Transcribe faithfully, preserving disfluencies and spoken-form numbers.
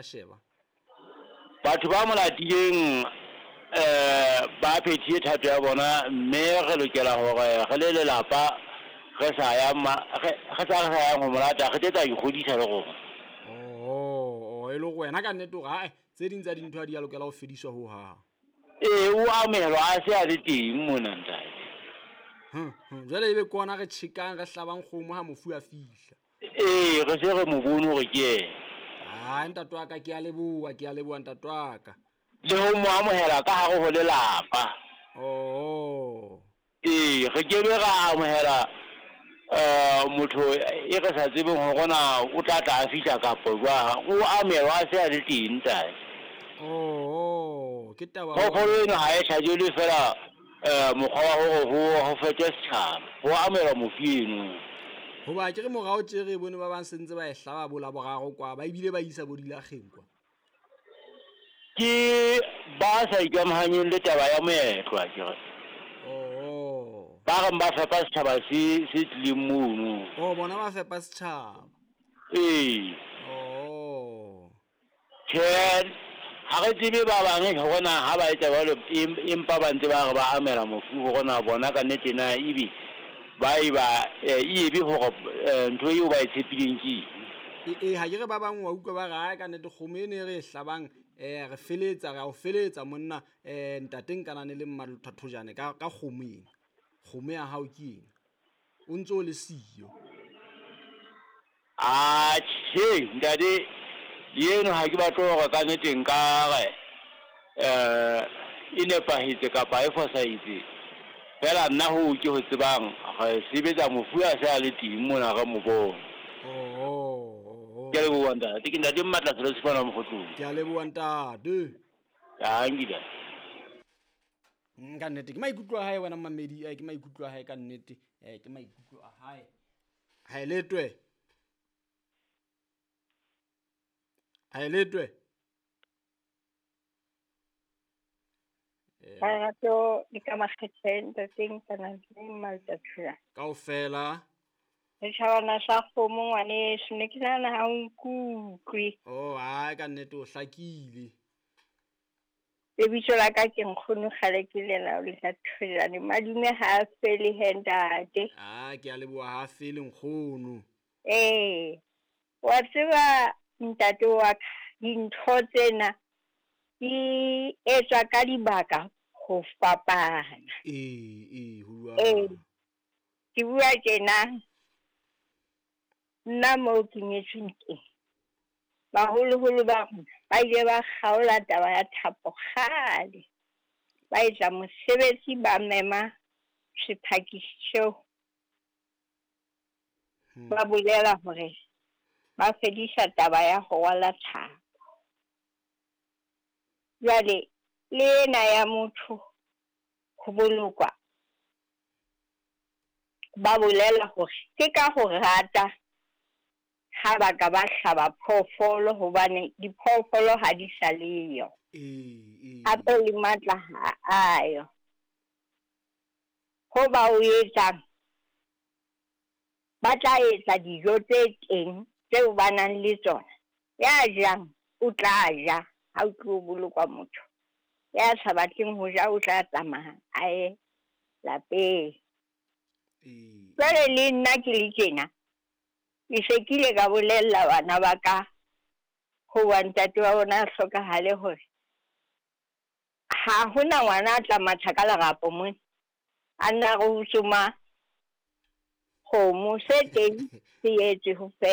sheba. Batho ba mo latileng eh ba phethile thato ya bona, mme re lokela hore re le lelapa re sa ya re sa re sa yang ho mo lata, re tla ikgodisa le rona. Oh, e le go wena ka nnete hore ae tse ding tsa dintho ha di a lokela ho fediswa ho hang. Ee, o amohelwa a se a le teng mona ntate. Hm, hm, jwale ebe ke ona re tjhekang re hlabang kgomo ha mofu a fihla. Ee, re se re mo bone hore ke yena. Ah, ntate wa ka, ke a leboha, ke a leboha ntate wa ka. Le ho mo amohela ka hare ho lelapa. Oh. Ee, re ke be ra amohela eh motho e re sa tsebeng hore na o tla tla a fihla kapa jwang. O amohelwa a se a le teng ntate. Oh, ke taba. Phoofolo eno ha e hlajelwe fela eh mokgwa wa hore ho ho fetwe setjhaba. Ho amohelwa mofu eno. Hoba ke re morao tje re bone ba bang sentse ba e hlaba bo la boraro kwa, ba ebile ba isa bo dilakgeng kwa. Ke ba sa ikamahanyeng le taba ya moetlo akere. Oh. Ba reng ba fepa setjhaba se se tlileng mono. Oh, bona ba fepa setjhaba. Ee. Oh. Tjhe, ha re tsebe ba bang hore na ha ba etsa jwalo empa ba ntse ba re ba amela mofu hore na bona ka nnete na ebe ba e ba e be hore ntho eo ba e tshepileng ke eng. Ee, ha ke re ba bang wa utlwa ba re ae ka nnete kgomo eno e re e hlabang eh re feletsa, re a o feletsa monna eh ntate Nkanane le Mmalothathojane ka ka kgomo ena. Kgomo ya hao ke ena. O ntso le siyo. Ah, tjhe, ntate eno ha ke batle hore ka nnete nka re eh e nepahetse kapa e fosahetse. Fela nna ho ke ho tsebang re sebetsa mofu a se a le teng mona re mo bone. Oh. Ke a leboha ntate, ke ntate Mmatla Selo Sefana Mokgotlong. Ke a leboha ntate. Dankie. Ka nnete ke maikutlo a hae wena mmamedi, ke maikutlo a hae ka nnete, eh ke maikutlo a hae. Ha e letwe. Ha e letwe. Lerato le ka makgetleng ntate Nkanane le Mmalothathojane. Kaofela. Setjhabana sa kgomo ngwaneso, ne ke nahana ha o nkutlwe. Oh, hai ka nnete o hlakile. Lebitso la ka ke nkgono kgale ke lena Lothathojane. Madume ha a fele he ntate. Ah, ke a leboha ha fele nkgono. Ee, wa tseba ntate wa ka, dintho tsena di etswa ka dibaka ho fapana. Ee, ee, ho bua. Ee, ke bua tjena. Nna moo ke nyetsweng teng, baholoholo ba rona ba ile ba kgaola taba ya thapo kgale. Ba etsa mosebetsi, ba mema sephakisi seo. Ba bolela hore ba fedisa taba ya ho rwala thapo. Jwale le ena ya motho ho bolokwa, ba bolela hore ke ka ho rata ha ba ka ba hlaba phoofolo, hobane diphoofolo ha di sa leyo. Ee, ee. Hape le matla ha ayo. Ho ba o etsang, ba tla etsa dijo tse teng tseo ba nang le tsona. Ya jang o tla ja ha o tlo bolokwa motho. Ya sa batleng ho ja o tla tsamaya a ye lapeng. Ee. Jwale le nna ke le tjena, ke se ke ile ka bolella bana ba ka hoba ntate wa bona a hlokahale hore ha hona ngwana a tla matha ka lerapo mona a nna re o tsoma kgomo, se teng se etswe ho fela.